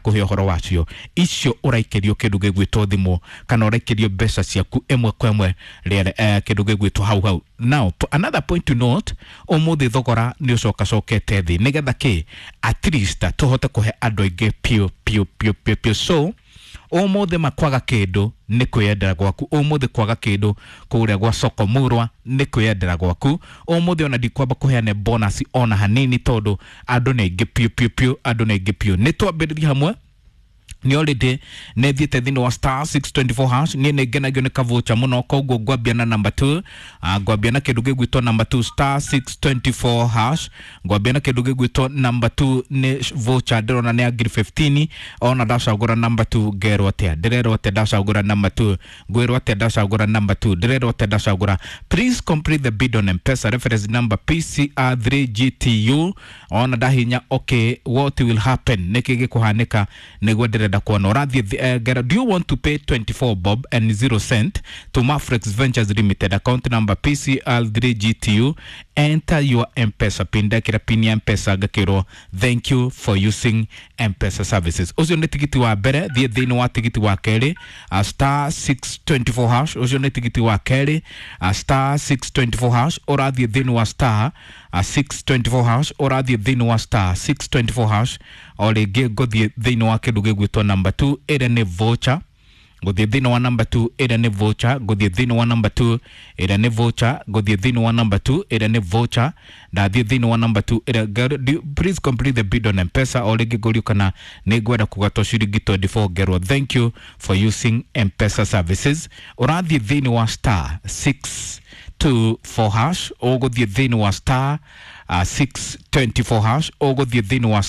Kuhe ũhoro wacio icio ũraikĩrio kĩndũ gĩgwĩtwo thimũ kana ũraikĩrio mbeca ciaku ĩmwe kwa ĩmwe rĩere kĩndũ gĩgwĩtwo hau hau. Now, another point to note, ũmũthĩ thogora nĩ ũcokacokete thĩ nĩgetha kĩ at least tũhote kũhe andũ aingĩ piũ piũ piũ piũ piũ. So ũmũthĩ makwaga kĩndũ nĩ kwĩyendera gwaku. Ũmũthĩ kwaga kĩndũ kũrĩa gwa soko murwa nĩ kwĩyendera gwaku. Ũmũthĩ ona ndikwamba kũheane bonus ona hanini tondũ andũ nĩ aingĩ piũ piũ piũ, andũ nĩ aingĩ piũ. Nĩ twambĩrĩrie hamwe nĩ already nĩ thiĩte thĩinĩ wa *624#. Niĩ nĩ ngenagio nĩ kavocha mũno, koguo ngwambia na number 2. Ngwambia na kĩndũ gĩgwĩtwo number 2, *624#. Ngwambia na kĩndũ gĩgwĩtwo number 2, nĩ voucher ndĩrona nĩ ya ngiri 15. Ona ndacagũra number 2 ngerwo atĩa? Ndĩrerwo atĩa ndacagũra number 2? Ngwĩrwo atĩa ndacagũra number 2? Ndĩrerwo atĩa ndacagũra? Please complete the bid on M-Pesa, reference number PCR3GTU. Ona ndahinya okay, what will happen? Nĩkĩ gĩkũhanĩka? Nĩguo ndĩrenda kuona ũrathiĩ ngera. Do you want to pay 24 bob and 0 cent to Mafrex Ventures Limited, account number PCR3GTU? Enter your M-Pesa PIN. Ndekĩra PIN ya M-Pesa, ngakĩrwo thank you for using M-Pesa services. Ũcio nĩ tigiti wa mbere. Thiĩ thĩinĩ wa tigiti wa kerĩ, *624#. Ũcio nĩ tigiti wa kerĩ, *624#. Ũrathiĩ thĩinĩ wa *624#. Ũrathiĩ thĩinĩ wa *624#. O rĩngĩ ngũthiĩ thĩinĩ wa kĩndũ gĩgwĩtwo number 2, ĩrĩa nĩ voucher. Ngũthiĩ thĩinĩ wa number 2, ĩrĩa nĩ voucher. Ngũthiĩ thĩinĩ wa number 2, ĩrĩa nĩ voucher. Ngũthiĩ thĩinĩ wa number 2, ĩrĩa nĩ voucher. Ndathiĩ thĩinĩ wa number 2 ĩrĩa please complete the bid on M-Pesa. O rĩngĩ ngũrio kana nĩ ngwenda kũgatwo ciringi 24, ngerwo thank you for using M-Pesa services. Ũrathiĩ thĩinĩ wa *624#. Ũgũthiĩ thĩinĩ wa *624#. Ũgũthiĩ thĩinĩ wa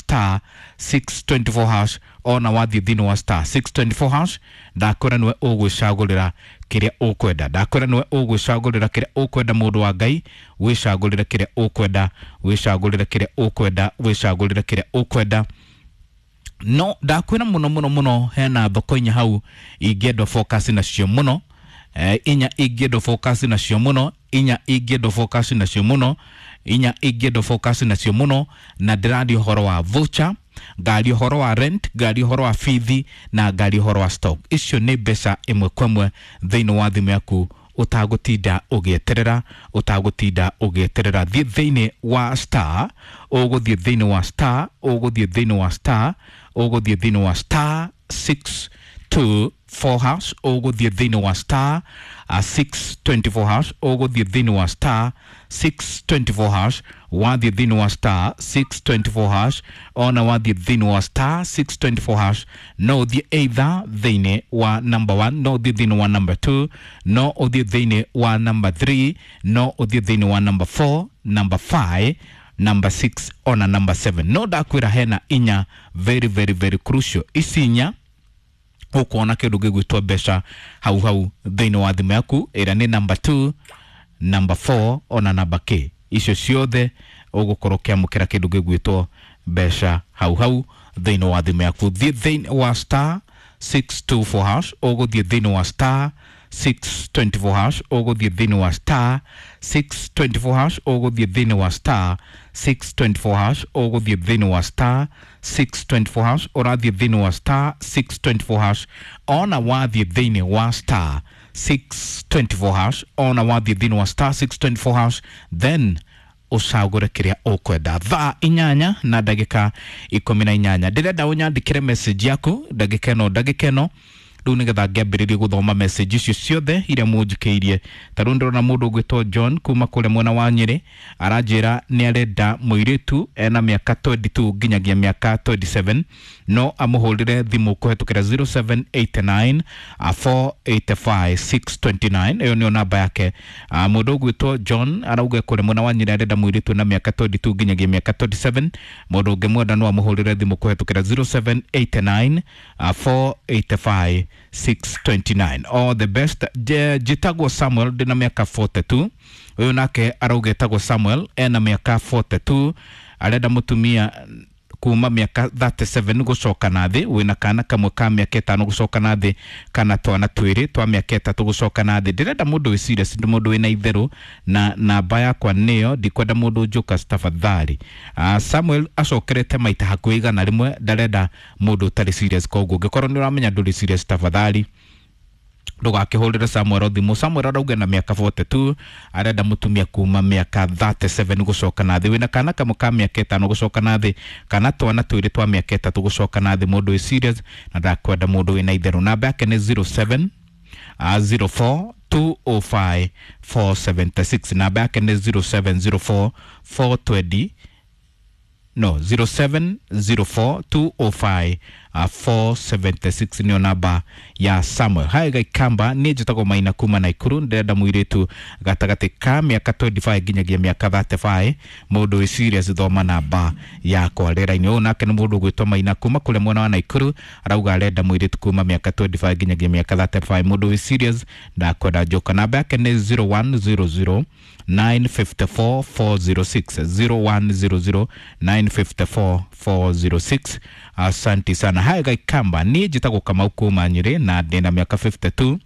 *624#. Ona wathiĩ thĩinĩ wa *624# ndakwĩra nĩwe ũgwĩcagũrĩra kĩrĩa ũkwenda. Ndakwĩra nĩwe ũgwĩcagũrĩra kĩrĩa ũkwenda. Mũndũ wa Ngai, wĩcagũrĩre kĩrĩa ũkwenda, wĩcagũrĩre kĩrĩa ũkwenda, wĩcagũrĩre kĩrĩa ũkwenda. No ndakwĩra mũno mũno mũno, hena thoko inya hau ingĩendwo focus nacio mũno, inya ingĩendwo focus nacio mũno, inya ingĩendwo focus nacio mũno, inya ingĩendwo focus nacio mũno. Na ndĩraria ũhoro wa voucher, ngaria ũhoro wa rent, ngaria ũhoro wa bithi na ngaria ũhoro wa stock. Icio nĩ mbeca ĩmwe kwa ĩmwe thĩinĩ wa thimũ yaku ũtagũtinda ũgĩeterera, ũtagũtinda ũgĩeterera. Thiĩ thĩinĩ wa star, ũgũthiĩ thĩinĩ wa star, ũgũthiĩ thĩinĩ wa star, ũgũthiĩ thĩinĩ wa *624#. Ũgũthiĩ thĩinĩ wa *624#. Ũgũthiĩ thĩinĩ wa *624#. Wathiĩ thĩinĩ wa *624#, ona wathiĩ thĩinĩ wa *624# no ũthiĩ either thĩinĩ wa number 1, no ũthiĩ thĩinĩ wa number 2, no ũthiĩ thĩinĩ wa number 3, no ũthiĩ thĩinĩ wa number 4, number 5, number 6 ona number 7. No ndakwĩra hena inya very very very crucial. Ici inya ũkuona kĩndũ gĩgwĩtwo mbeca hau hau thĩinĩ wa thimũ yaku, ĩrĩa nĩ number 2, number 4 ona number K. Icio ciothe ũgũkorwo ũkĩamũkĩra kĩndũ gĩgwĩtwo mbeca hau hau thĩinĩ wa thimũ yaku. Thiĩ thĩinĩ wa *624#. Ũgũthiĩ thĩinĩ wa *624#. Ũgũthiĩ thĩinĩ wa *624#. Ũgũthiĩ thĩinĩ wa *624#. Ũgũthiĩ thĩinĩ wa *624#. Ũrathiĩ thĩinĩ wa *624#. Ona wathiĩ thĩinĩ wa *624#, ona wathiĩ thĩinĩ wa *624#, then ũcagũre kĩrĩa ũkwenda. Thaa 8:18, ndĩrenda ũnyandĩkĩre message yaku ndagĩka ĩno, ndagĩka ĩno rĩu, nĩgetha ngĩambĩrĩrie gũthoma message icio ciothe iria mũnjikĩirie. Ta rĩu ndĩrona mũndũ ũgwĩtwo John kuma kũrĩa mwena wa Nyĩrĩ aranjĩra nĩ arenda mũirĩtu ena mĩaka 22 nginyagia mĩaka 27, no amũhũrĩre thimũ kũhetũkĩra 0789 485 629. Ĩyo nĩyo namba yake. Mũndũ ũgwĩtwo John arauga kũrĩa mwena wa Nyĩrĩ arenda mũirĩtu na mĩaka 22 nginyagia mĩaka 27. Mũndũ ũngĩmwenda no amũhũrĩre thimũ kũhetũkĩra 0789 485 629. All the best. Njĩtagwo Samuel, ndĩna mĩaka 42. Ũyũ nake arauga etagwo Samuel, ena mĩaka 42, arenda mũtumia kuma mĩaka 37 gũcoka na thĩ, wĩna kana kamwe ka mĩaka 5 gũcoka na thĩ, kana twana twĩrĩ twa mĩaka 3 gũcoka na thĩ. Ndĩrenda mũndũ wĩ serious, mũndũ wĩna itherũ, na namba yakwa nĩyo, ndikwenda mũndũ njũka tafadhali. Samuel acokerete maita hakuhĩ 100, ndarenda mũndũ ũtarĩ serious. Koguo ũngĩkorwo nĩ ũramenya ndũrĩ serious, tafadhali ndũgakĩhũrĩre Samuel thimũ. Samuel arauga na mĩaka 42, arenda mũtumia kuma mĩaka 37 gũcoka na thĩ, wĩna kana kamwe ka mĩaka 5 gũcoka na thĩ, kana twana twĩrĩ twa mĩaka 3 gũcoka na thĩ. Mũndũ wĩ serious na ndakwenda mũndũ wĩna itherũ. Namba yake nĩ 07 04 205 476. Namba yake nĩ 0704 420, no, 0704 205 476 nĩyo namba ya Samuel. Hai Gaikamba, niĩ njĩtagwo Maina kuma Naikuru, ndĩrenda mũirĩtu gatagatĩ ka mĩaka 25 nginyagia mĩaka 35, mũndũ wĩ serious, thoma namba yakwa rĩera-inĩ. Ũyũ nake nĩ mũndũ ũgwĩtwo Maina kuma kũrĩa mwena wa Naikuru, arauga arenda mũirĩtu kuma mĩaka 25 nginyagia mĩaka 35, mũndũ wĩ serious, ndakwenda njoka. Namba yake nĩ 0100 954 406, 0100 954 406. Asante sana. Hai Gaikamba, niĩ njĩtagwo Kamau kuma Nyĩrĩ na ndĩna mĩaka 52,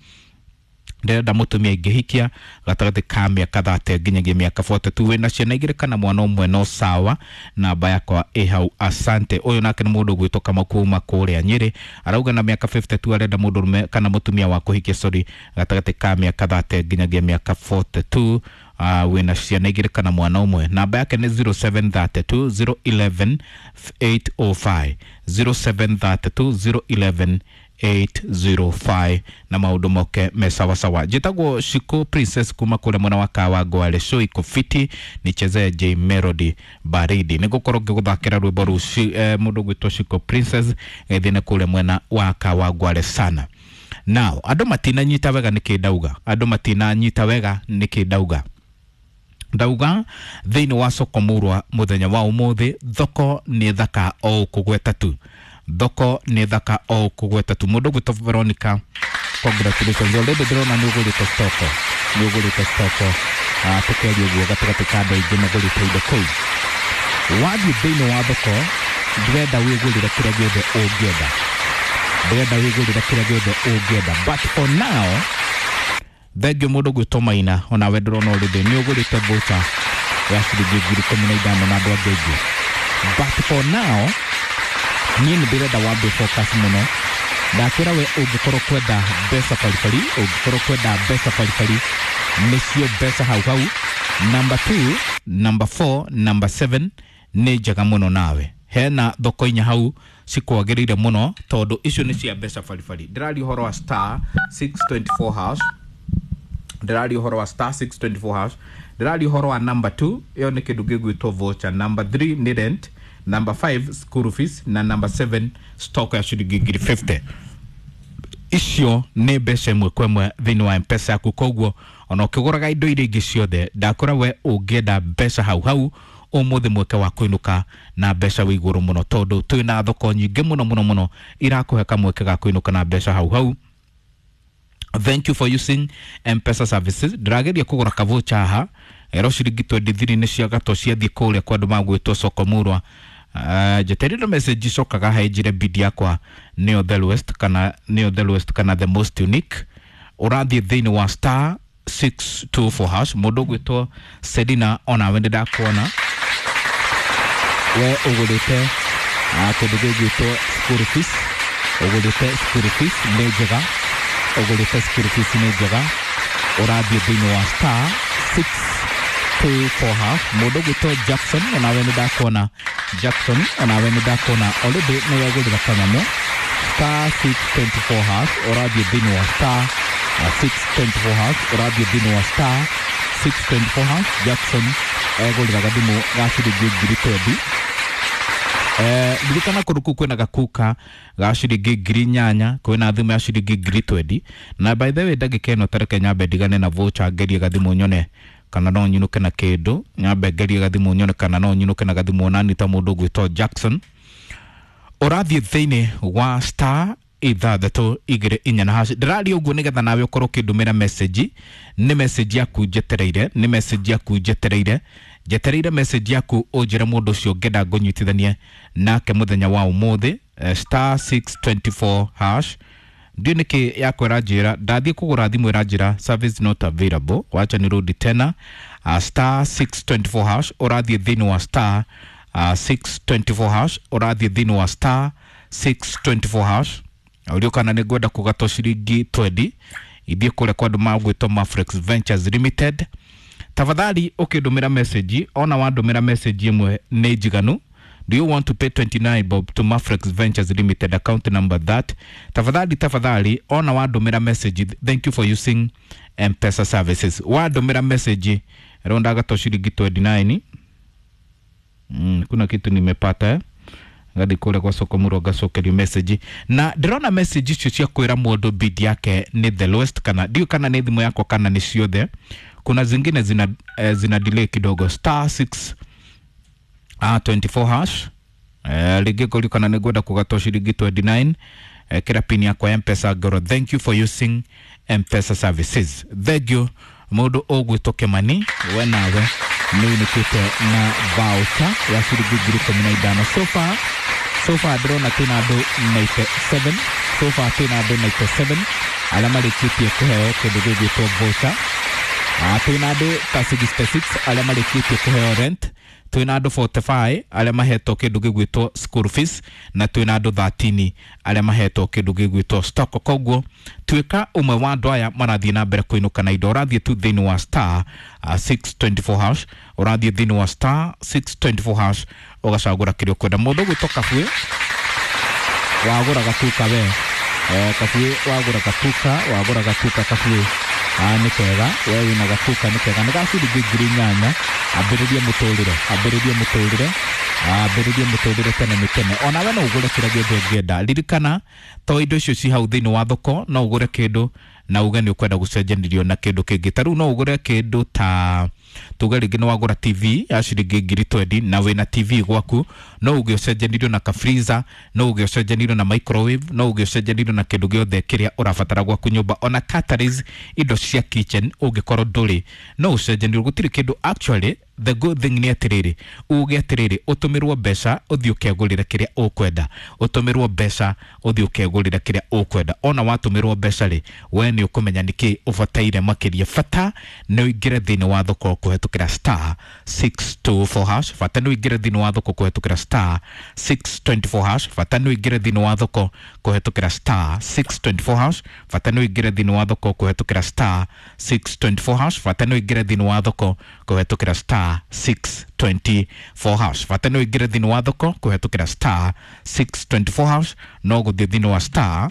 ndĩrenda mũtumia ingĩhikia gatagatĩ ka mĩaka 30 nginyagia mĩaka 42, wĩna ciana igĩrĩ kana mwana ũmwe no sawa. Namba yakwa ĩ hau, asante. Ũyũ nake nĩ mũndũ ũgwĩtwo Kamau kuma kũrĩa Nyĩrĩ, arauga na mĩaka 52 arenda mũndũrũme kana mũtumia wa kũhikia, sorry, gatagatĩ ka mĩaka 30 nginyagia mĩaka 42, wĩna ciana igĩrĩ kana mwana ũmwe. Namba yake nĩ 0732 011 805, 0732 011 805, na maũndũ moke me sawasawa. Njĩtagwo Shiko Princess kuma kũrĩa mwena wa Kawangware, show iko fiti, nichezee J Melody baridi. Nĩngũkorwo ngĩgũthakĩra rwĩmbo rũu mũndũ ũgwĩtwo Shiko Princess gethine kũrĩa mwena wa Kawangware sana. Now andũ matinanyita wega nĩkĩ ndauga, andũ matinanyita wega nĩkĩ ndauga. Ndauga thĩinĩ wa soko murwa mũthenya wa ũmũthĩ, thoko nĩ thaka o kũgweta tu, thoko nĩ thaka o kũgweta tu. Mũndũ ũgwĩtwo Veronica, congratulations, already ndĩrona nĩ ũgũrĩte stoko, nĩ ũgũrĩte stoko. Tũkĩaria ũguo gatagatĩ ka andũ aingĩ magũrĩte indo kũu. Wathiĩ thĩinĩ wa thoko, ndĩrenda wĩgũrĩre kĩrĩa gĩothe ũngĩenda, ndĩrenda wĩgũrĩre kĩrĩa gĩothe ũngĩenda, but for now thengio mũndũ ũgwĩtwo Maina, onawe ndĩrona already nĩ ũgũrĩte voucher ya ciringi 15,000 na andũ angĩ aingĩ, but for now niĩ nĩ ndĩrenda wambe focus mũno. Ndakwĩra we ũngĩkorwo kwenda mbeca baribari, ũngĩkorwo kwenda mbeca baribari, nĩcio mbeca hau hau. Number 2, number 4, number 7 nĩ njega mũno nawe. Hena thoko inya hau cikwagĩrĩire mũno tondũ icio nĩ cia mbeca baribari. Ndĩraria ũhoro wa star 624 hash, ndĩraria ũhoro wa star 624 hash, ndĩraria ũhoro wa number 2, ĩyo nĩ kĩndũ gĩgwĩtwo voucher, number 3 nĩ rent, number 5 school fees, na number 7 stock ya ciringi 50,000. Icio nĩ mbeca ĩmwe kwa ĩmwe thĩinĩ wa M-Pesa yaku. Koguo ona ũkĩgũraga indo iria ingĩ ciothe, ndakora we ũngĩenda mbeca hau hau ũmũthĩ, mweke wa kũinũka na mbeca wĩ igũrũ mũno, tondũ twĩna thoko nyingĩ mũno mũno mũno irakũhe kamweke ga kũinũka na mbeca hau hau. Thank you for using M-Pesa services. Ndĩrageria kũgũra kavocha haha ero ciringi 23 nĩ cia gato ciathiĩ kũrĩa kwa andũ magwĩtwo soko murwa. Njeterire message icokaga he njire bid yakwa nĩyo the lowest kana nĩyo the lowest kana the most unique. Ũrathiĩ thĩinĩ wa star 624 hash. Mũndũ ũgwĩtwo Selina, onawe nĩ ndakuona we ũgũrĩte kĩndũ gĩgwĩtwo school fees, ũgũrĩte school fees nĩ njega, ũgũrĩte school fees nĩ njega. Ũrathiĩ thĩinĩ wa star 624 hash. Mũndũ ũgwĩtwo Jackson, onawe nĩ ndakuona Jackson, onawe nĩ ndakuona already nĩ wegũrĩra kanyamũ star 624 hash. Ũrathiĩ thĩinĩ wa star 624 hash, ũrathiĩ thĩinĩ wa star 624 hash. Jackson egũrĩra gathimũ ga ciringi 20,000. Ririkana kũndũ kũu kwĩna gakuka ga ciringi 8,000, kwĩna thimũ ya ciringi 20,000. Na by the way, ndagĩka ĩno tareke nyambe ndigane na voucher, ngerie gathimũ nyone kana no nyinũke na kĩndũ, nyambe ngerie gathimũ nyone kana no nyinũke na gathimũ onani ta mũndũ ũgwĩtwo Jackson. Ũrathiĩ thĩinĩ wa star 6 2 4 na hash. Ndĩraria ũguo nĩgetha nawe ũkorwo ũkĩndũmĩra message, nĩ message yaku njetereire, nĩ message yaku njetereire. Njetereire message yaku ũnjĩre mũndũ ũcio ngenda ngũnyitithanie nake mũthenya wa ũmũthĩ, star 624 hash. Ndiũ nĩkĩ yakwĩra njĩra ndathiĩ kũgũra thimũ ĩranjĩra service not available, wacha nirudi tena. Star 624 hash, ũrathiĩ thĩinĩ wa star 624 hash, ũrathiĩ thĩinĩ wa star 624 hash. Ũrio kana nĩ ngwenda kũgatwo ciringi 20 ithiĩ kũrĩa kwa andũ magwĩtwo Mafrex Ventures Limited. Tafadhali ũkĩndũmĩra message, ona wandũmĩra message ĩmwe nĩ njiganu. Do you want to pay 29 bob to Mafrex Ventures Limited, account number that? Tafadhali tafadhali, ona wandũmĩra message, thank you for using M-Pesa services. Wandũmĩra message rĩu ndagatwo ciringi 29. Kuna kitu nimepata eh? Ngathi kũrĩa gwa soko mũro ngacokerio message na ndĩrona message icio cia kwĩra mũndũ bid yake nĩ the lowest, kana ndiũ kana nĩ thimũ yakwa kana nĩ ciothe. Kuna zingine zina, zina delay kidogo. Star 6 24 hash, rĩngĩ ngũrio kana nĩ ngwenda kũgatwo ciringi 29, kĩra pin yakwa ya M-Pesa ngoro thank you for using M-Pesa services. Thank you mũndũ ũgwĩtwo Kĩmani, we nawe nĩ ũinũkĩte na voucher ya ciringi 15,000. So far, so far ndĩrona twĩna andũ 97, so far twĩna andũ 97 arĩa marĩkĩtie kũheo kĩndũ gĩgwĩtwo voucher. Twĩna andũ ta 66 arĩa marĩkĩtie kũheo rent, twĩna andũ 45 arĩa mahetwo kĩndũ gĩgwĩtwo school fees, na twĩna andũ 13 arĩa mahetwo kĩndũ gĩgwĩtwo stock. Koguo tuĩka ũmwe wa andũ aya marathiĩ na mbere kũinũka na indo. Ũrathiĩ tu thĩinĩ wa star 624 hash, ũrathiĩ thĩinĩ wa star 624 hash ũgacagũra kĩrĩa ũkwenda. Mũndũ ũgwĩtwo Kabue wagũra gatuka we, Kabue wagũra gatuka, wagũra gatuka Kabue. Nĩ kega we wĩna gatuka, nĩ kega, nĩ ga ciringi 8,000. Ambĩrĩria mũtũrĩre, ambĩrĩria mũtũrĩre, ambĩrĩria mũtũrĩre tene nĩ tene. Onawe no ũgũre kĩrĩa gĩothe ũngĩenda. Ririkana to indo icio ci hau thĩinĩ wa thoko, no ũgũre kĩndũ na uge nĩ ũkwenda gũcenjanĩrio na kĩndũ kĩngĩ. Ta rĩu no ũgũre kĩndũ ta tuge rĩngĩ nĩ wagũra TV ya ciringi 20,000 na wĩna TV gwaku, no uge ũcenjanĩrio na ka freezer, no uge ũcenjanĩrio na microwave, no uge ũcenjanĩrio na kĩndũ gĩothe kĩrĩa ũrabatara gwaku nyũmba, ona cutleries, indo cia kitchen ũngĩkorwo ndũrĩ no ũcenjanĩrio. Gũtirĩ kĩndũ actually. The good thing nĩ atĩrĩrĩ, uge atĩrĩrĩ, ũtũmĩrwo mbeca ũthiĩ ũkegũrĩre kĩrĩa ũkwenda, ũtũmĩrwo mbeca ũthiĩ ũkegũrĩre kĩrĩa ũkwenda. Ona watũmĩrwo mbeca rĩ, we nĩ ũkũmenya nĩkĩ ũbataire makĩria. Bata nĩ ũingĩre thĩinĩ wa thoko kũhetũkĩra star 624 hash, bata nĩ ũingĩre thĩinĩ wa thoko kũhetũkĩra star 624 hash, bata nĩ ũingĩre thĩinĩ wa thoko kũhetũkĩra star 624 hash, bata nĩ ũingĩre thĩinĩ wa thoko kũhetũkĩra star 624 hash, bata nĩ ũingĩre thĩinĩ wa thoko kũhetũkĩra star 624 hash, bata nĩ ũingĩre thĩinĩ wa thoko kũhetũkĩra star 624 hash. No gũthiĩ thĩinĩ wa star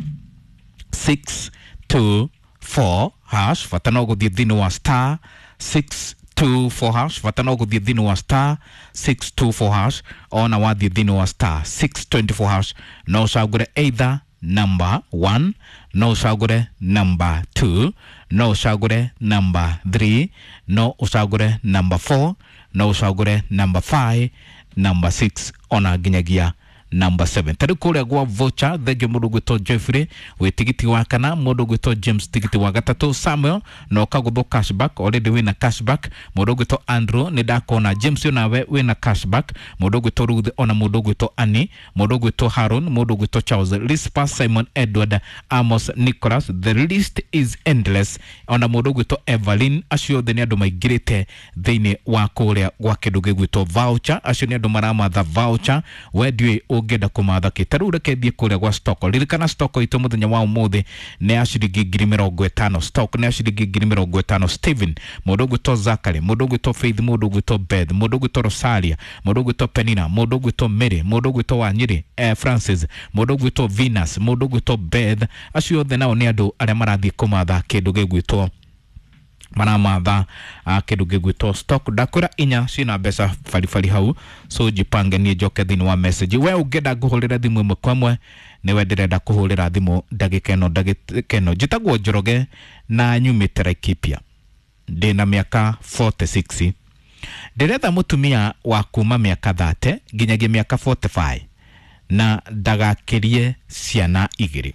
624 hash, bata no gũthiĩ thĩinĩ wa star 624 hash, bata no gũthiĩ thĩinĩ wa star 624 hash. Ona wathiĩ thĩinĩ wa star 624 hash no ũcagũre either number 1, no ũcagũre number 2, no ũcagũre number 3, no ũcagũre number 4, no ũcagũre number 5, number 6, ona nginyagia number 7. Ta rĩu kũrĩa gwa voucher, thengio mũndũ ũgwĩtwo Jeffrey wĩ tigiti wa kana, mũndũ ũgwĩtwo James tigiti wa gatatũ, Samuel na ũkagũthwo cashback, already wĩna cashback. Mũndũ ũgwĩtwo Andrew nĩ ndakona, James onawe wĩna cashback, mũndũ ũgwĩtwo Ruth ona mũndũ ũgwĩtwo Annie, mũndũ ũgwĩtwo Haron, mũndũ ũgwĩtwo Charles, Rispa, Simon Edward, Amos Nicholas, the list is endless, ona mũndũ ũgwĩtwo Evelyn. Acio othe nĩ andũ maingĩrĩte thĩinĩ wa kũrĩa gwa kĩndũ gĩgwĩtwo voucher. Acio nĩ andũ maramatha voucher, we ndiũĩ ũngĩenda kũmatha kĩ. Ta rĩu reke thiĩ kũrĩa gwa stock. Ririkana stock itũ mũthenya wa ũmũthĩ nĩ ya ciringi 50,000. Stock nĩ ya ciringi 50,000. Steven, mũndũ ũgwĩtwo Zachary, mũndũ ũgwĩtwo Faith, mũndũ ũgwĩtwo Beth, mũndũ ũgwĩtwo Rosalia, mũndũ ũgwĩtwo Penina, mũndũ ũgwĩtwo Mary, mũndũ ũgwĩtwo Wanyiri, Francis, mũndũ ũgwĩtwo Venus, mũndũ ũgwĩtwo Beth. Acio othe nao nĩ andũ arĩa marathiĩ kũmatha kĩndũ gĩgwĩtwo maramatha kĩndũ gĩgwĩtwo stock. Ndakwĩra inya ciĩna mbeca baribari hau, so jipange niĩ njoke thĩinĩ wa message. We ũngĩenda ngũhũrĩre thimũ ĩmwe kwa ĩmwe, nĩwe ndĩrenda kũhũrĩra thimũ ndagĩka ĩno, ndagĩka ĩno. Njĩtagwo Njoroge na nyumĩte Laikipia, ndĩna mĩaka 46. Ndĩretha mũtumia wa kuma mĩaka 30 nginyagia mĩaka 45 na ndagakĩrie ciana igĩrĩ.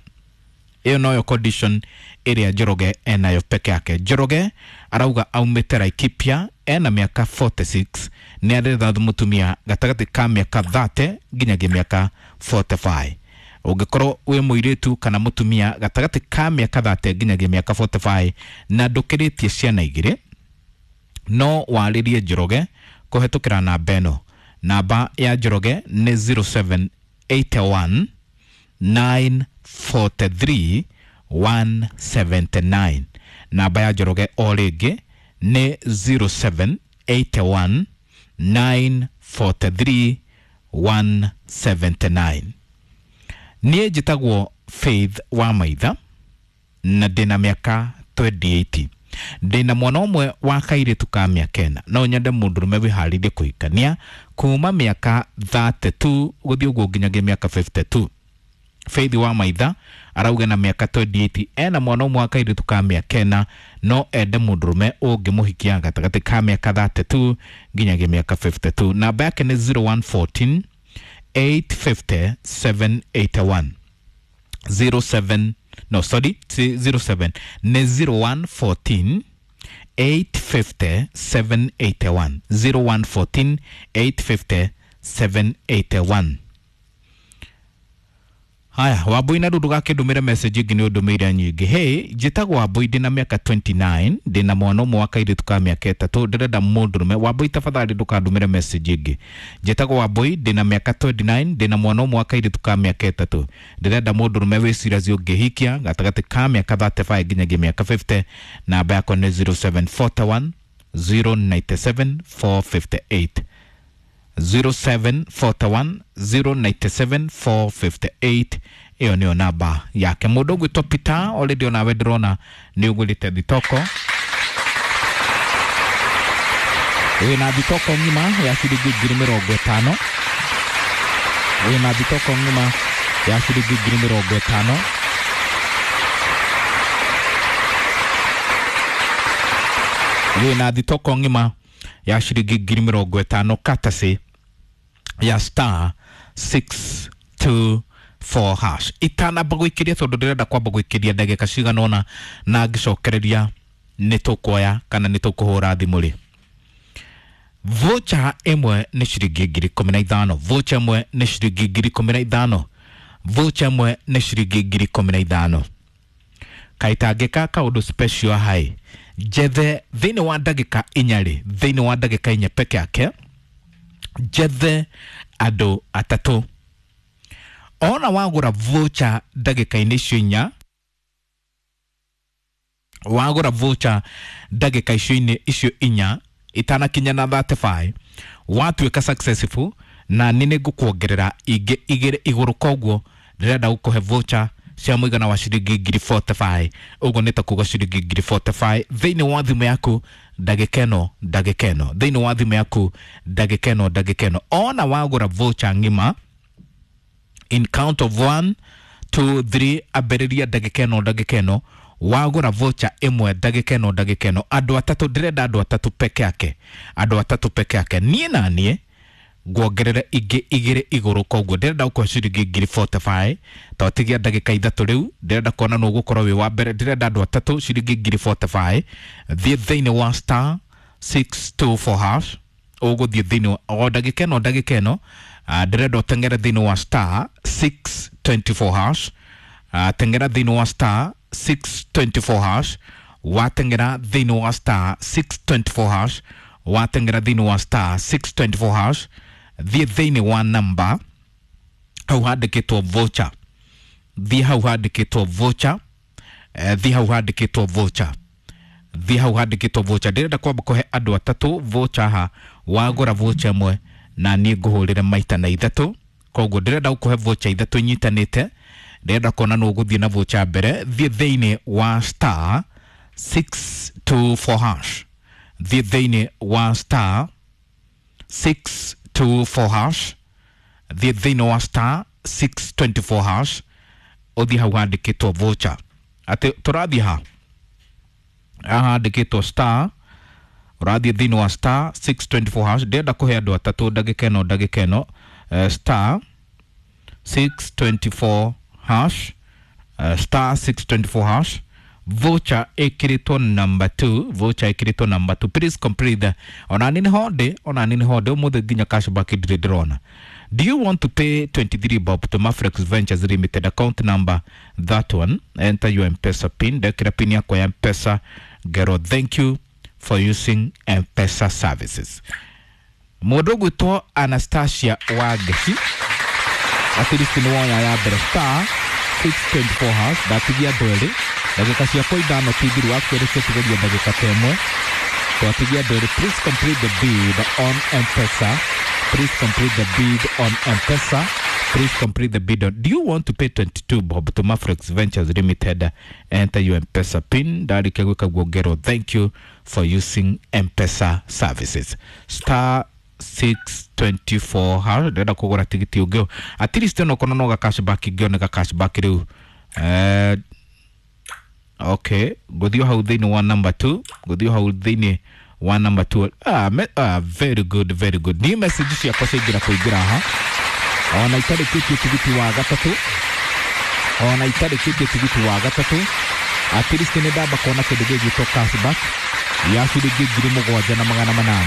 Ĩyo noyo condition ĩrĩa Njoroge enayo peke yake. Njoroge arauga aumĩte Laikipia, ena mĩaka 46, nĩ aretha mũtumia gatagatĩ ka mĩaka 30 nginyagia mĩaka 45. Ũngĩkorwo wĩ mũirĩtu kana mũtumia gatagatĩ ka mĩaka 30 nginyagia mĩaka 45 na ndũkĩrĩtie ciana igĩrĩ, no warĩrie Njoroge kũhetũkĩra namba ĩno. Namba ya Njoroge nĩ 0781 943 179. Namba ya Njoroge o rĩngĩ nĩ 0781 943 179. Niĩ njĩtagwo Faith wa Maitha na ndĩna mĩaka 28. Ndĩna mwana ũmwe wa kairĩtu ka mĩaka 4. No nyende mũndũrũme wĩharĩirie kũhikania kuma mĩaka 32 gũthiĩ ũguo nginyagia mĩaka 52. Faith wa Maitha arauga na mĩaka 28, ena mwana ũmwe wa kairĩtu ka mĩaka 4, no ende mũndũrũme ũngĩmũhikia gatagatĩ ka mĩaka 32 nginyagia mĩaka 52. Namba yake nĩ 0114 850 781. 07, no, sorry, 07 nĩ 0114 850 781, 0114 850 781. Haya, Wambui na rĩu ndũgakĩndũmĩre message ĩngĩ nĩ ũndũmĩire nyingĩ. Hey, njĩtagwo Wambui, ndĩna mĩaka 29, ndĩna mwana ũmwe wa kairĩtu ka mĩaka 3, ndĩrenda mũndũrũme. Wambui, tafadhali ndũkandũmĩre message ĩngĩ. Njĩtagwo Wambui, ndĩna mĩaka 29, ndĩna mwana ũmwe wa kairĩtu ka mĩaka 3, ndĩrenda mũndũrũme wĩ serious ũngĩhikia gatagatĩ ka mĩaka 35 nginyagia mĩaka 50. Namba yakwa nĩ 0741 097 458, 0741 097 458. Ĩyo nĩyo namba yake. Mũndũ ũgwĩtwo Peter, already onawe ndĩrona nĩ ũgũrĩte thitoko. Wĩna thitoko ng'ima ya ciringi 50,000. Wĩna thitoko ng'ima ya ciringi 50,000. Wĩna thitoko ng'ima ya ciringi 50,000 katasi ya star 624 hash. Itanamba gwĩkĩria tondũ ndĩrenda kwamba gwĩkĩria ndagĩka cigana ũna na ngĩcokereria nĩ tũkuoya kana nĩ tũkũhũra thimũ rĩ. Voucher ĩmwe nĩ ciringi 15,000. Voucher ĩmwe nĩ ciringi 15,000. Voucher ĩmwe nĩ ciringi 15,000. Kaitangĩka kaũndũ special hai njethe thĩinĩ wa ndagĩka 4 rĩ, thĩinĩ wa ndagĩka 4 peke yake njethe andũ atatũ. Ona wagũra voucher ndagĩka-inĩ icio 4, wagũra voucher ndagĩka icio 4 itanakinya na 35, watuĩka successful na nĩ nĩngũkuongerera ingĩ 2 igũrũ. Koguo ndĩrenda gũkũhe voucher cia mũigana wa ciringi 45,000. Ũguo nĩ ta kuga ciringi 45,000 thĩinĩ wa thimũ yaku ndagĩka ĩno, ndagĩka ĩno, thĩinĩ wa thimũ yaku ndagĩka ĩno, ndagĩka ĩno. Ona wagũra voucher ng'ima in count of 1 2 3, ambĩrĩria ndagĩka ĩno, ndagĩka ĩno. Wagũra voucher ĩmwe ndagĩka ĩno, ndagĩka ĩno, andũ atatũ, ndĩrenda andũ atatũ peke yake, andũ atatũ peke yake. Niĩ na niĩ nguongerere ingĩ 2 igũrũ. Koguo ndĩrenda gũkũhe ciringi 45,000 twatigia ndagĩka 3 rĩu. Ndĩrenda kuona nũ ũgũkorwo wĩ wa mbere. Ndĩrenda andũ atatũ ciringi 45,000. Thiĩ thĩinĩ wa star 624 hash, ũgũthiĩ thĩinĩ o ndagĩka ĩno, ndagĩka ĩno. Ndĩrenda ũteng'ere thĩinĩ wa star 624 hash. Teng'era thĩinĩ wa star 624 hash. Wateng'era thĩinĩ wa star 624 hash, wateng'era thĩinĩ wa star 624 hash, thiĩ thĩinĩ wa namba hau handĩkĩtwo voucher. Thiĩ hau handĩkĩtwo voucher, thiĩ hau handĩkĩtwo voucher, thiĩ hau handĩkĩtwo voucher. Ndĩrenda kwamba kũhe andũ atatũ voucher ha. Wagũra voucher ĩmwe na niĩ ngũhũrĩre maita na 3. Koguo ndĩrenda gũkũhe voucher 3 inyitanĩte. Ndĩrenda kuona nũ ũgũthiĩ na voucher mbere. Thiĩ thĩinĩ wa star 624 hash, thiĩ thĩinĩ wa star 624 hash, thiĩ thĩinĩ wa star 624 hash, ũthiĩ hau handĩkĩtwo voucher. Atĩ tũrathiĩ ha haha handĩkĩtwo star, ũrathiĩ thĩinĩ wa star 624 hash. Ndĩrenda kũhe andũ atatũ ndagĩka ĩno, ndagĩka ĩno. Star 624 hash. Star 624 hash, voucher ĩkĩrĩtwo number 2, voucher ĩkĩrĩtwo number 2. Please complete the ona nĩ honde, ona nĩ honde ũmũthĩ nginya cashback ndirĩ ndĩrona. Do you want to pay 23 bob to Mafrex Ventures Limited, account number that one? Enter your M-Pesa pin. Ndekĩra pin yakwa ya M-Pesa ngero thank you for using M-Pesa services. Mũndũ ũgwĩtwo Anastasia Wangeci, at least nĩ woya ya mbere, star 624 hash. Ndatigia andũ erĩ, ndagĩka ciakwa ithano ti thiru, wakerĩ ciatigaria ndagĩka ta ĩmwe, twatigia andũ erĩ. Please complete the bid on M-Pesa. Please complete the bid on M-Pesa. Please complete the bid on. Do you want to pay 22 bob to Mafrex Ventures Limited? Enter your M-Pesa pin. Ndarĩkia gwĩka guo ngero thank you for using M-Pesa services. Star 624 hash. Ndĩrenda kũgũra tigiti ũngĩ at least onokorwo no ga cashback, ngĩone cashback rĩu. Okay, ngũthiĩ hau thĩinĩ wa number 2, ngũthiĩ hau thĩinĩ wa number 2. Very good, very good. Niĩ message ciakwa ciaingĩra kũingĩra haha ona itarĩkĩtie tigiti wa gatatũ, ona itarĩkĩtie tigiti wa gatatũ, at least nĩ ndamba kuona kĩndũ gĩgwĩtwo cashback ya ciringi 7,800.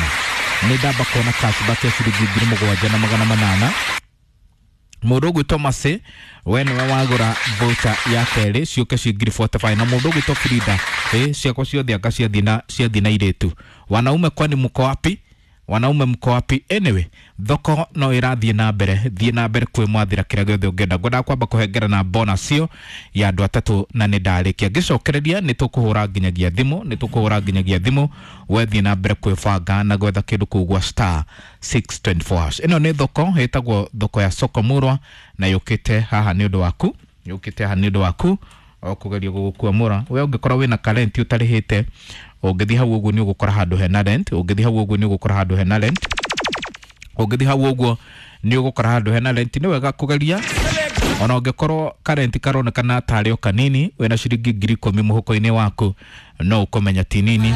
Nĩ ndamba kuona cashback ya ciringi 7,800. Mũndũ ũgwĩtwo Masi, we nĩwe wagũra voucher ya kerĩ, ciũke ci 45,000. Na mũndũ ũgwĩtwo Frida, ciakwa ciothe anga ciathiĩ na irĩtu. Wanaume kwani mko wapi? Wanaume mko wapi? Anyway, thoko no ĩrathiĩ na mbere, thiĩ na mbere kwĩmwathĩra kĩrĩa gĩothe ũngĩenda. Ngwendaga kwamba kũhengera na bonus ĩyo ya andũ atatũ na nĩ ndarĩkia. Ngĩcokereria nĩ tũkũhũra nginyagia thimũ, nĩ tũkũhũra nginyagia thimũ. We thiĩ na mbere kwĩbanga na gwetha kĩndũ kũu gwa star 624 hash. Ĩno nĩ thoko ĩtagwo thoko ya Soko Murwa na yũkĩte haha nĩ ũndũ waku, yũkĩte haha nĩ ũndũ waku o kũgeria gũgũkuamũra. We ũngĩkorwo wĩna karenti ũtarĩhĩte, ũngĩthiĩ hau ũguo nĩ ũgũkora handũ hena rent, ũngĩthiĩ hau ũguo nĩ ũgũkora handũ hena rent, ũngĩthiĩ hau ũguo nĩ ũgũkora handũ hena rent. Nĩ wega kũgeria ona ũngĩkorwo karenti karonekana tarĩ o kanini, wĩna ciringi 10,000 mũhuko-inĩ waku no ũkũmenya ti nini.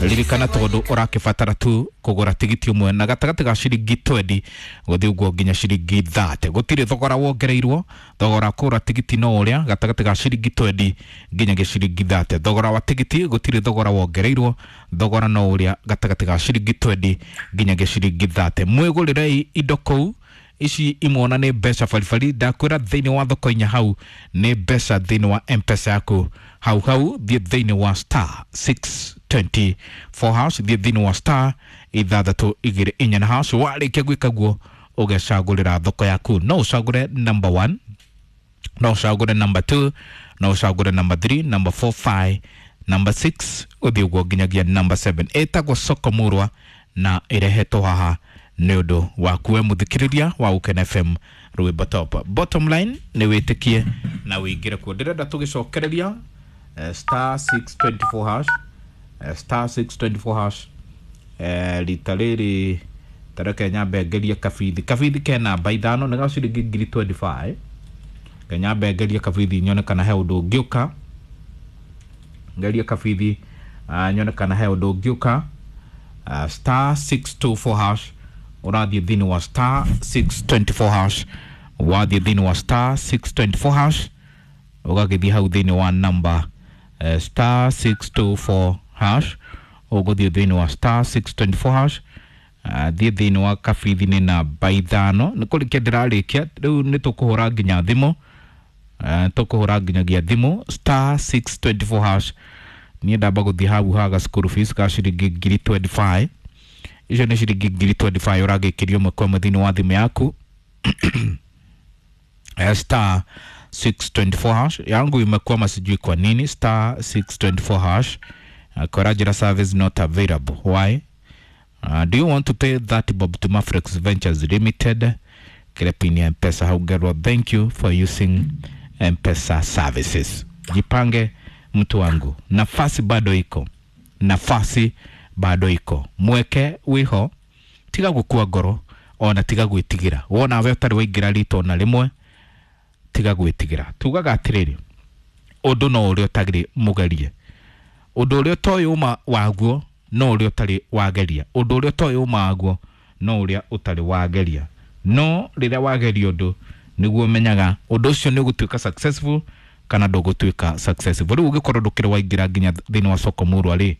Ririkana tondũ ũrakĩbatara tu kũgũra tigiti ũmwe na gatagatĩ ga ciringi 20 gũthiĩ ũguo nginya ciringi 30. Gũtirĩ thogora wongereirwo, thogora kũgũra tigiti no ũrĩa gatagatĩ ga ciringi 20 nginyagia ciringi 30. Thogora wa tigiti gũtirĩ thogora wongereirwo, thogora no ũrĩa gatagatĩ ga ciringi 20 nginyagia ciringi 30. Mwĩgũrĩrei indo kũu, ici imwona nĩ mbeca baribari. Ndakwĩra thĩinĩ wa thoko inya hau nĩ mbeca thĩinĩ wa M-Pesa yaku hau hau. Thiĩ thĩinĩ wa star 624 hash, thiĩ thĩinĩ wa star 624 na hash. Warĩkia gwĩka guo ũgecagũrĩra thoko yaku. No ũcagũre number 1, no ũcagũre number 2, no ũcagũre number 3, number 4, 5, number 6 ũthiĩ ũguo nginyagia number 7. Ĩtagwo Soko Murwa na ĩrehetwo haha nĩ ũndũ waku we mũthikĩrĩria wa Gũkena FM rwĩmbo top. Bottom line nĩ wĩtĩkie na wĩingĩre kuo. Ndĩrenda tũgĩcokereria star 624 hash, star 624 hash. Rita rĩrĩ tareke nyambe ngerie kabithi. Kabithi ke namba ithano, nĩ ga ciringi 25,000. Nyambe ngerie kabithi nyone kana he ũndũ ũngĩũka. Ngerie kabithi nyone kana he ũndũ ũngĩũka. Star 624 hash, ũrathiĩ thĩinĩ wa star 624 hash, wathiĩ thĩinĩ wa star 624 hash ũgagĩthiĩ hau thĩinĩ wa number star 624 hash, ũgũthiĩ thĩinĩ wa star 624 hash. Thiĩ thĩinĩ wa kabithi nĩ namba ithano. Nĩ kũrĩkia ndĩrarĩkia rĩu, nĩ tũkũhũra nginya thimũ, tũkũhũra nginyagia thimũ. Star 624 hash. Niĩ ndamba gũthiĩ hau haga school fees ka ciringi 25,000. Icio nĩ ciringi 25,000 ũragĩkĩrio ĩmwe kwa ĩmwe thĩinĩ wa thimũ yaku. Star 624 hash yangu imekwama, sijui kwa nini. Star 624 hash, Korajira service not available. Why? Do you want to pay 30 bob to Mafrex Ventures Limited? Kile ya M-Pesa haugerwa. Thank you for using M-Pesa services. Jipange mtu wangu, nafasi bado iko, nafasi bado iko. Mweke wiho, tiga gukua ngoro ona tiga gwĩtigĩra. Wona we ũtarĩ waingĩra rita ona rĩmwe, tiga gwĩtigĩra. Tugaga atĩrĩrĩ, ũndũ no ũrĩa ũtarĩ mũgerie, ũndũ ũrĩa ũtoĩ ũma waguo no ũrĩa ũtarĩ wageria, ũndũ ũrĩa ũtoĩ ũma waguo no ũrĩa ũtarĩ wageria. No rĩrĩa wageria ũndũ nĩguo ũmenyaga ũndũ ũcio nĩ ũgũtuĩka successful Kana ndũgũtuĩka successful. Rĩu ũngĩkorwo ndũkĩrĩ waingĩra nginya thĩinĩ wa soko murwa rĩ,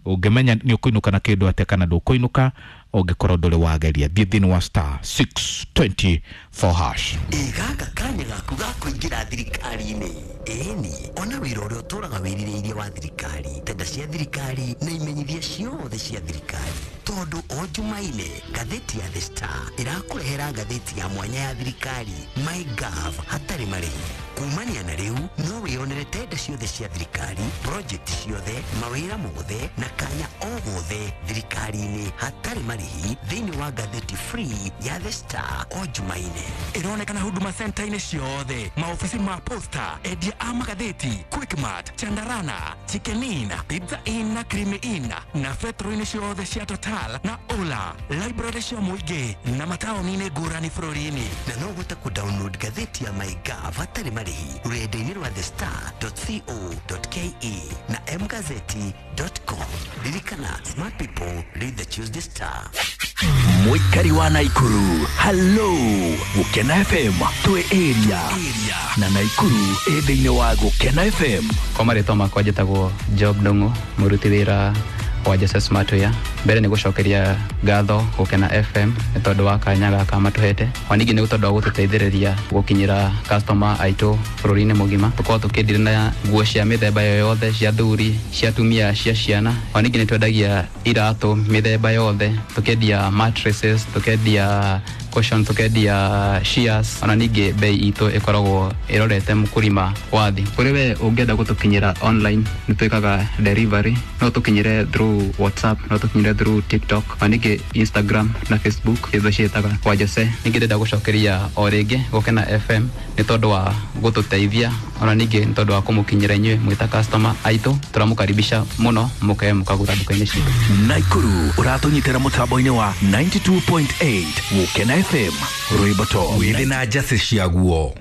ũngĩmenya nĩ ũkũinũka na kĩndũ atĩa kana ndũkũinũka ũngĩkorwo ndũrĩ wageria. Thiĩ thĩinĩ wa star 624 hash. Ĩ gaka kanya gaku ga kũingĩra thirikari-inĩ. Ĩni ona wĩra ũrĩa ũtũraga wĩrirĩirie wa thirikari, tenda cia thirikari na imenyithia ciothe cia thirikari, tondũ o Jumaine ngathĩti ya The Star ĩrakũrehera ngathĩti ya mwanya ya thirikari, MyGov, hatarĩ marĩhi. Kumania na rĩu no wĩyonere tenda ciothe cia thirikari, project ciothe, mawĩra mothe na kanya o gothe thirikari-inĩ hatarĩ marĩhi thĩinĩ wa ngathĩti free ya The Star o Jumaine. Ĩronekana Huduma Center-inĩ ciothe, maofici ma posta, endia a magathĩti, Quickmart, Chandarana, Chicken Inn, Pizza Inn na Creamy Inn, na betro-inĩ ciothe cia Total na Ola, library cia mũingĩ na mataũni-inĩ ngũrani bũrũri-inĩ. Na no ũhote kũ-download ngathĩti ya MyGov hatarĩ marĩhi rũrenda-inĩ rwa thestar.co.ke na mgazeti.com. Ririkana, smart people read the Tuesday Star. Mũikari wa Naikuru, hallo. Gũkena FM twĩ area na Naikuru ĩ thĩinĩ wa Gũkena FM. Kwa marĩtwa makwa njĩtagwo Job Ndung'u, mũruti wĩra wa Jose Smartwear. Mbere nĩ gũcokeria ngatho Gũkena FM nĩ tondũ wa kanya gaka matũhete, ona ningĩ nĩ tondũ wa gũtũteithĩrĩria gũkinyĩra customer aitũ bũrũri-inĩ mũgima. Tũkoragwo tũkĩndire na nguo cia mĩthemba yoyothe, cia thuri, cia atumia, cia ciana. Ona ningĩ nĩ twendagia iratũ mĩthemba yothe, tũkendia mattresses, tũkendia cushion, tũkendia shears. Ona ningĩ bei itũ ĩkoragwo ĩrorete mũkũrima wa thĩ. Kũrĩ we ũngĩenda gũtũkinyĩra online, nĩ twĩkaga delivery. No tũkinyĩre through WhatsApp, no tũkinyĩre through TikTok, ona ningĩ Instagram na Facebook, itho ciĩtaga kwa Jose. Ningĩ ndĩrenda gũcokeria o rĩngĩ Gũkena FM nĩ tondũ wa gũtũteithia, ona ningĩ nĩ tondũ wa kũmũkinyĩra inyuĩ mwĩta customer aitũ. Tũramũkaribisha mũno mũke mũkagũra nduka-inĩ citũ. Naikuru ũratũnyitĩra mũtambo-inĩ wa 92.8 Gũkena FM, rwĩmbo to wĩthĩ na njacĩ ciaguo.